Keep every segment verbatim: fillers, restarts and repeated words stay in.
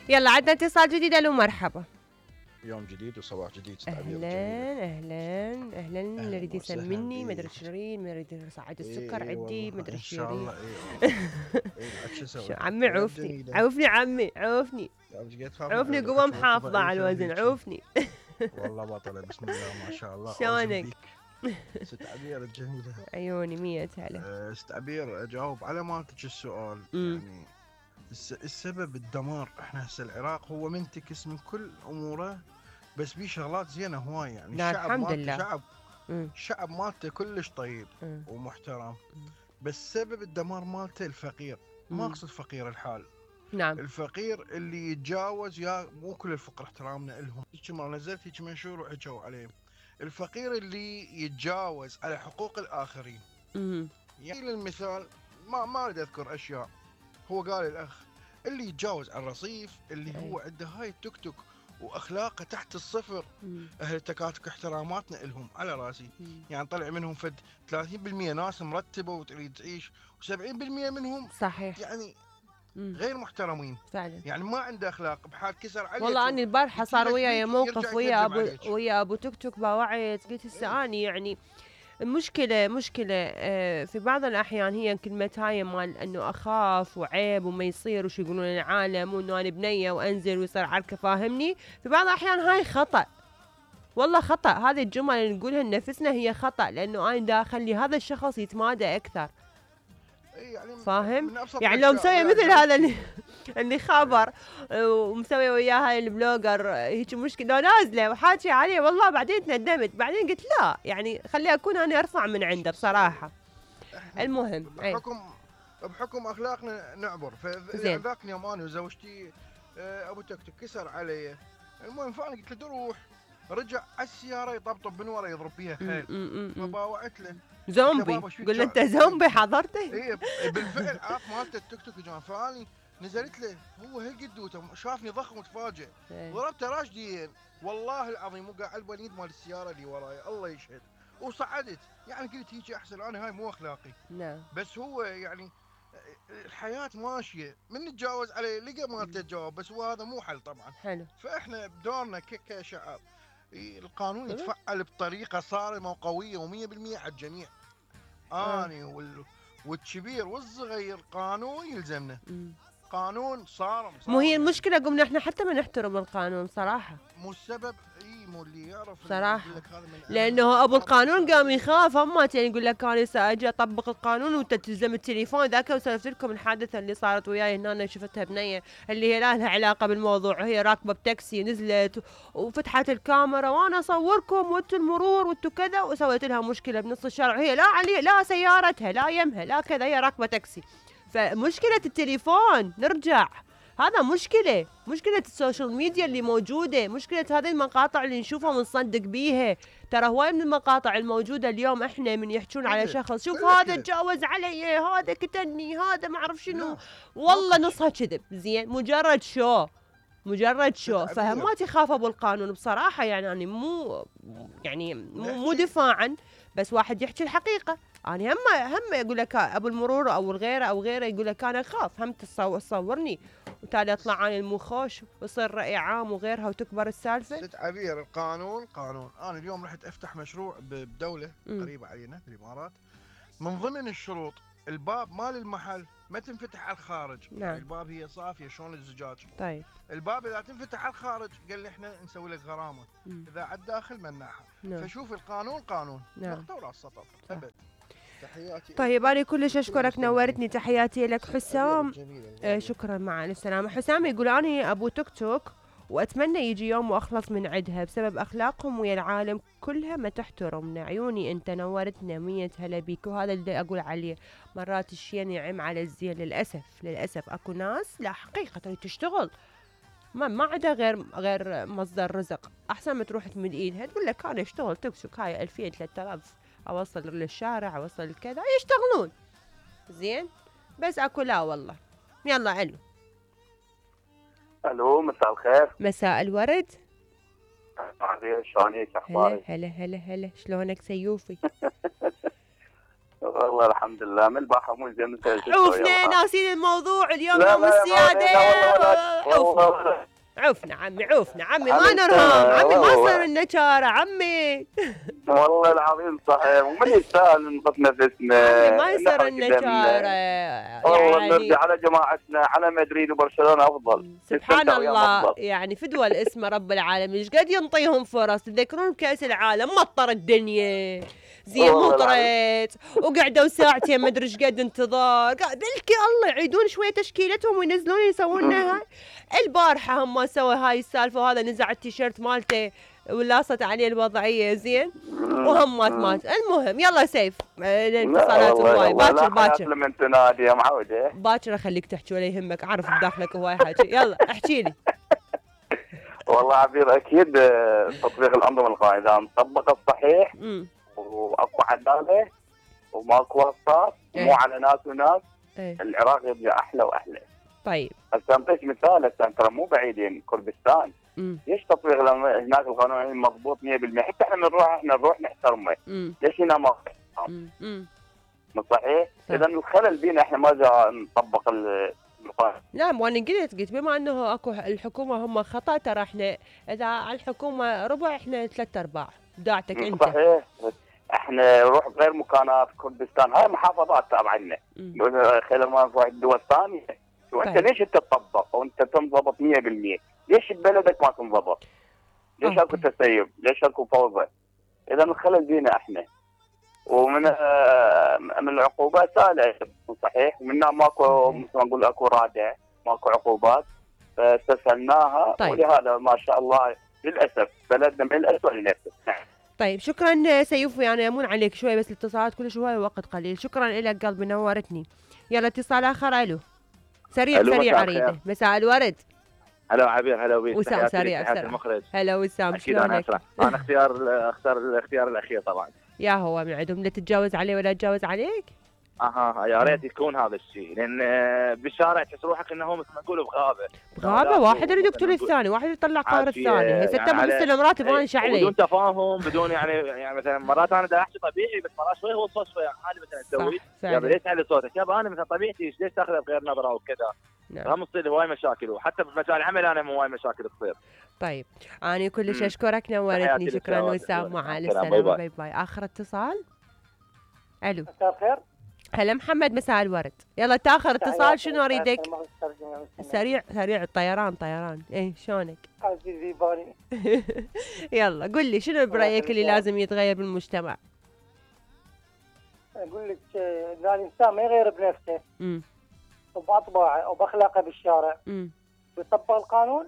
يلا عندنا اتصال جديد. الو مرحبا. يوم جديد وصباح جديد. اهلا اهلا اهلا. اللي يريد يسمني مدري شيرين، ما يريد يصعد السكر إيه عندي مدري شيرين. ان شاء الله. ايه شو عمي عوفني عوفني عمي عوفني عوفني قوة محافظة على الوزن عوفني. والله بطلة بسم الله ما شاء الله. شلونك؟ ست عبير الجميلة عيوني مية هلا. ست عبير اجاوب على مالتك السؤال. يعني السبب الدمار. احنا هسه العراق هو منتكس من كل اموره، بس بيه شغلات زينه هواي. يعني الشعب الحمد لله شعب الشعب مالته كلش طيب مم. ومحترم. بس سبب الدمار مالته الفقير. ما اقصد فقير الحال، نعم، الفقير اللي يتجاوز. يا مو كل الفقراء احترامنا لهم. هيك مره نزلت هيك منشور وحكوا عليه. الفقير اللي يتجاوز على حقوق الاخرين. مم. يعني للمثال ما ما اريد اذكر اشياء. هو قال الاخ اللي يتجاوز على الرصيف، اللي أي. هو عنده هاي التوك توك واخلاقه تحت الصفر. مم. اهل التكاتك احتراماتنا لهم على راسي. مم. يعني طلع منهم فد ثلاثين بالمئة ناس مرتبه وتريد تعيش، وسبعين بالمئة منهم صحيح يعني مم. غير محترمين فعلا. يعني ما عنده اخلاق. بحال كسر عليك. والله اني البارحه صار وياي موقف ويا ابو عليك. ويا ابو توك توك باوعيت قلت هسه اني يعني المشكلة مشكلة في بعض الأحيان هي كلمة هاي مال أنه أخاف وعيب وما يصير وش يقولون العالم وأنه أنا بنية وأنزل ويصير عركة. فاهمني؟ في بعض الأحيان هاي خطأ، والله خطأ. هذه الجمل اللي نقولها لنفسنا هي خطأ، لأنه أنا دا أخلي هذا الشخص يتمادى أكثر. يعني فاهم؟ يعني لو مسوي مثل هذا اللي اللي خبر ومسوي وياه هاي البلوجر هيك مشكله، لو نازله وحاكي عليه والله بعدين تندمت. بعدين قلت لا يعني خلي اكون انا ارفع من عنده بصراحه. المهم بحكم بحكم اخلاقنا نعبر. فذاك اليوم انا وزوجتي ابو توك توك كسر علي. المهم فانا قلت له روح. رجع على السياره يطبطب من ورا يضرب بيها حيل. فباوعت له زومبي. قل انت زومبي حضرته؟ اي بالفعل عاف مالته التوك توك جان. فاني نزلت له هو هالقدوته شافني ضخم وتفاجئ. ضربته راشدين والله العظيم. وقع على البنيد مال السياره اللي وراي الله يشهد. وصعدت. يعني قلت هيك احسن. انا هاي مو اخلاقي. نعم. بس هو يعني الحياه ماشيه. من نتجاوز عليه لقى مالته تجاوب. بس هو هذا مو حل طبعا. حلو. فاحنا بدورنا كشعب القانون يتفعل بطريقه صارمه وقويه ومية بالمية على الجميع. اني وال... والكبير والصغير قانون يلزمنا. م. قانون صارم. مو هي المشكله قمنا احنا حتى ما نحترم القانون صراحه. مو السبب اي مو اللي يعرف صراحه. لانه ابو القانون قام يخاف. همات يعني يقول لك انا ساجي اطبق القانون وانت تلزم التليفون. ذاك وسولفت لكم الحادثه اللي صارت وياي هنا. انا شفتها بنيه اللي هي لا لها علاقه بالموضوع. هي راكبه بتاكسي نزلت وفتحت الكاميرا وانا اصوركم وانتم المرور وانتم كذا، وسويت لها مشكله بنص الشارع. هي لا علي لا سيارتها لا يمها لا كذا، هي راكبه تاكسي. فمشكله التليفون نرجع. هذا مشكلة مشكلة السوشيال ميديا اللي موجودة. مشكلة هذه المقاطع اللي نشوفها ونصدق بيها. ترى هواي من المقاطع الموجودة اليوم احنا من يحجون على شخص شوف هذا تجاوز علي، هذا كتني، هذا ما اعرف شنو، والله نصها كذب. زين مجرد شو مجرد شو. فهمات يخاف ابو القانون بصراحة. يعني أنا مو يعني مو, مو دفاعا، بس واحد يحكي الحقيقة. أنا هم هم يقول لك أبو المرور أو الغيره أو غيره يقول لك أنا أخاف هم تصورني وتالي أطلع أنا المخوش ويصير رأي عام وغيرها وتكبر السالفة. ست عبير القانون قانون. أنا اليوم رحت أفتح مشروع بدولة م. قريبة علينا في الإمارات. من ضمن الشروط الباب مال المحل ما تنفتح على الخارج. نعم. الباب هي صافية شلون الزجاج. طيب الباب إذا تنفتح على الخارج قال لي إحنا نسوي لك غرامة. م. إذا على الداخل مناحة. نعم. فشوف القانون قانون. نعم. نقطة وراس سطر أبد. تحياتي. طيب أنا كلش أشكرك نورتني. تحياتي لك حسام. آه شكرا مع السلامة. حسام يقول أنا أبو توك توك وأتمنى يجي يوم وأخلص من عدها بسبب أخلاقهم ويا العالم كلها ما تحترمنا. عيوني أنت نورتنا مية هلا بيك. وهذا اللي أقول عليه مرات الشيء يعم على الزين. للأسف للأسف أكو ناس لا حقيقة تريد تشتغل ما ما عندها غير غير مصدر رزق. أحسن ما تروح تمد إيدها تقول لك أنا أشتغل توك توك هاي ألفين ثلاثة آلاف اوصل للشارع اوصل كذا يشتغلون زين. بس اكو لا والله. يلا الو. الو مساء الخير. مساء الورد. شلونك اخبارك؟ هلا هلا هلا هلا شلونك سيوفي؟ والله الحمد لله من البارحة مو زين. عوفنا ناسين الموضوع اليوم لا يوم لا السيادة. لا والله عوفنا عوفنا عمي عوفنا عمي ما نرهام عمي ما صار النشارة عمي. والله العظيم صحيح ومن يستاهل نقط نفسنا. عمي ما يصير النشارة والله يعني نرجع على جماعتنا على مدريد وبرشلونة أفضل. سبحان الله يعني فدوى الاسم رب العالمين ايش قد ينطيهم فرص. تذكرون كأس العالم مطر الدنيا زين مطرت وقعدوا ساعتين ما ادري ايش قد انتظار بلكي الله يعيدون شويه تشكيلتهم وينزلون يسوون لها. البارحه هم ما سوى هاي السالفه وهذا نزع التيشيرت مالته ولاصت عليه الوضعيه زين وهم مات مات. المهم يلا سيف الاتصالات هواي باكر باكر لما تنادي يا معوده باكر اخليك تحكي ولا يهمك عارف بداخلك هواي حكي. يلا احكي لي. والله عبير اكيد تطبيق الانظمه القائمه اذا مطبق الصحيح واكو عداله وماكو وساط مو على ناس وناس ايه. العراق يبقى احلى واحلى. طيب هسه نعطيك مثال. هسه ترى مو بعيدين كردستان ليش تطبيق هناك القانون مضبوط مية بالمية حتى احنا بنروح احنا نروح نحترمه ليش هنا ما مو صحيح؟ اذا الخلل بينا احنا ما جا نطبق القانون. نعم وانا قلت قلت بما انه اكو الحكومه هم خطا ترى احنا اذا على الحكومه ربع احنا ثلاث ارباع بداعتك انت. صحيح احنا نروح غير مكانات كردستان هاي محافظات تابعه لنا خلال ما نروح الدول الثانيه. وانت ليش انت تطبق وانت تنضبط مية بالمية؟ ليش ببلدك ما تنضبط؟ ليش اكو تسيب؟ ليش اكو فوضى؟ اذا الخلل بينا احنا. ومن من العقوبات سهله صحيح ومنها ماكو مثل ما نقول اكو رادع ماكو عقوبات فاستسهلناها. طيب. ولهذا ما شاء الله للاسف بلدنا من الاسوء لنفسه. طيب شكرا سيوف يعني يمون عليك شوي بس الاتصالات كلش هواي وقت قليل. شكرا لك قلبي نورتني. يلا اتصال اخر. الو سريع سريع اريده. مساء الورد. هلا عبير هلا وبيك. وسام سريع بسرعه. هلا وسام شلونك؟ انا اختيار اختار الاختيار الاخير طبعا. يا هو من عندهم لا تتجاوز عليه ولا تتجاوز عليك؟ اها يا ريت يكون هذا الشيء لان بالشارع تحس روحك انه مثل ما نقول بغابه. بغابه واحد يريد يقتل الثاني واحد يطلع قهر الثاني. هسه انت بتستلم راتب وانا شعلي بدون تفاهم بدون يعني يعني مثلا مرات انا دا احكي طبيعي بس مرات شوي هو صوت شوي عادي مثلا تسوي يلا ليش تعلي صوتك يابا انا مثلا طبيعتي ليش تاخذها بغير نظره وكذا. نعم. هم تصير هواي مشاكل وحتى بمجال العمل انا هواي مشاكل تصير. طيب انا كلش اشكرك نورتني. شكرا وسام مع السلامه. باي باي. اخر اتصال. الو مساء الخير. هلا محمد مساء الورد. يلا تاخر اتصال شنو اريدك؟ سريع سريع الطيران طيران. ايه شلونك؟ عزيزي باني. يلا قل لي شنو برايك اللي لازم يتغير بالمجتمع؟ اقول لك اذا الانسان ما يغير بنفسه امم وباطباعه وباخلاقه بالشارع امم ويطبق القانون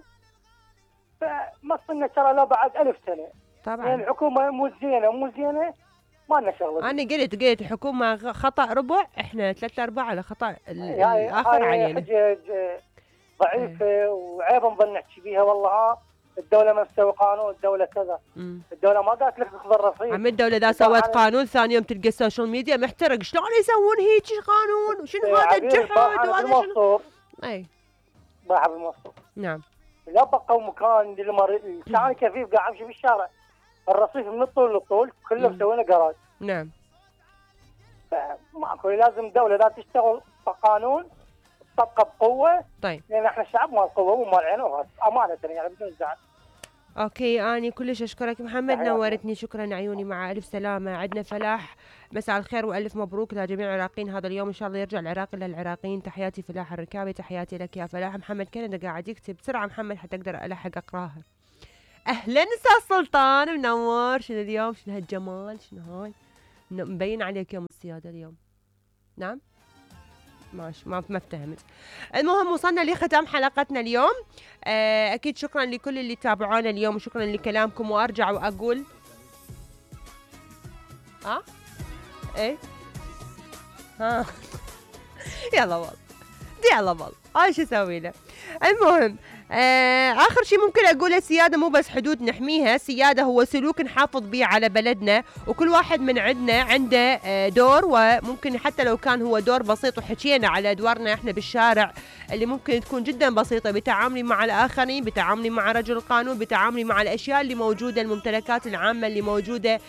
فما صرنا ترى لو بعد ألف سنه. طبعا يعني الحكومه مو زينه مو زينه ما لنا شغله. انا قلت قلت الحكومه خطا ربع احنا ثلاث ارباع على خطا الاخر علينا. حجج ضعيفه ايه. وعيب نظل نحكي بيها والله ها الدوله ما تسوي قانون الدوله كذا. مم. الدوله ما قالت لك تاخذ الرصيد. عم الدوله اذا سوت قانون ثاني يوم تلقى السوشيال ميديا محترق شلون يسوون هيك قانون وشنو هذا الجحود وهذا شنو. اي باعها بالموصور. نعم لا بقوا مكان للمريض الانسان كفيف قاعد يمشي بالشارع الرصيف من الطول للطول كله مسوينه جراج. نعم ماكو لازم الدوله لا تشتغل بقانون تطبقه بقوه. طيب لان احنا الشعب مال قوه مو مال عين وراس امانه يعني بدون زعل. اوكي اني كلش اشكرك محمد نورتني. شكرا عيوني مع الف سلامه. عندنا فلاح مساء الخير والف مبروك لجميع العراقيين هذا اليوم ان شاء الله يرجع العراق الى العراقيين. تحياتي فلاح الركابي. تحياتي لك يا فلاح. محمد كندا قاعد يكتب بسرعه محمد حتى اقدر الحق اقراها. اهلا استاذ سلطان منور. شنو اليوم شنو هالجمال شنو هاي مبين عليك يوم السياده اليوم. نعم ماشي ما ما افتهمت. المهم وصلنا لختام حلقتنا اليوم. اكيد شكرا لكل اللي تابعونا اليوم وشكرا لكلامكم. وارجع واقول ها ايه ها يلا والله يلا والله هاي شو اسوي له. المهم آه اخر شيء ممكن اقوله، السياده مو بس حدود نحميها، السياده هو سلوك نحافظ به على بلدنا، وكل واحد من عندنا عنده آه دور، وممكن حتى لو كان هو دور بسيط، وحكينا على ادوارنا احنا بالشارع اللي ممكن تكون جدا بسيطه، بتعاملي مع الاخرين، بتعاملي مع رجل القانون، بتعاملي مع الاشياء اللي موجوده، الممتلكات العامه اللي موجوده،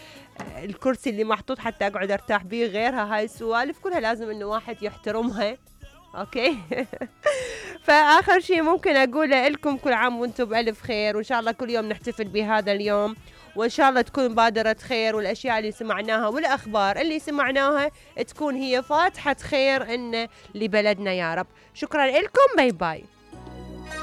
الكرسي اللي محطوط حتى اقعد ارتاح به، غيرها. هاي السوالف كلها لازم انه واحد يحترمها. اوكي. فاخر شيء ممكن اقوله لكم، كل عام وانتم بالف خير، وان شاء الله كل يوم نحتفل بهذا اليوم، وان شاء الله تكون بادرة خير، والاشياء اللي سمعناها والاخبار اللي سمعناها تكون هي فاتحة خير ان لبلدنا يا رب. شكرا لكم، باي باي.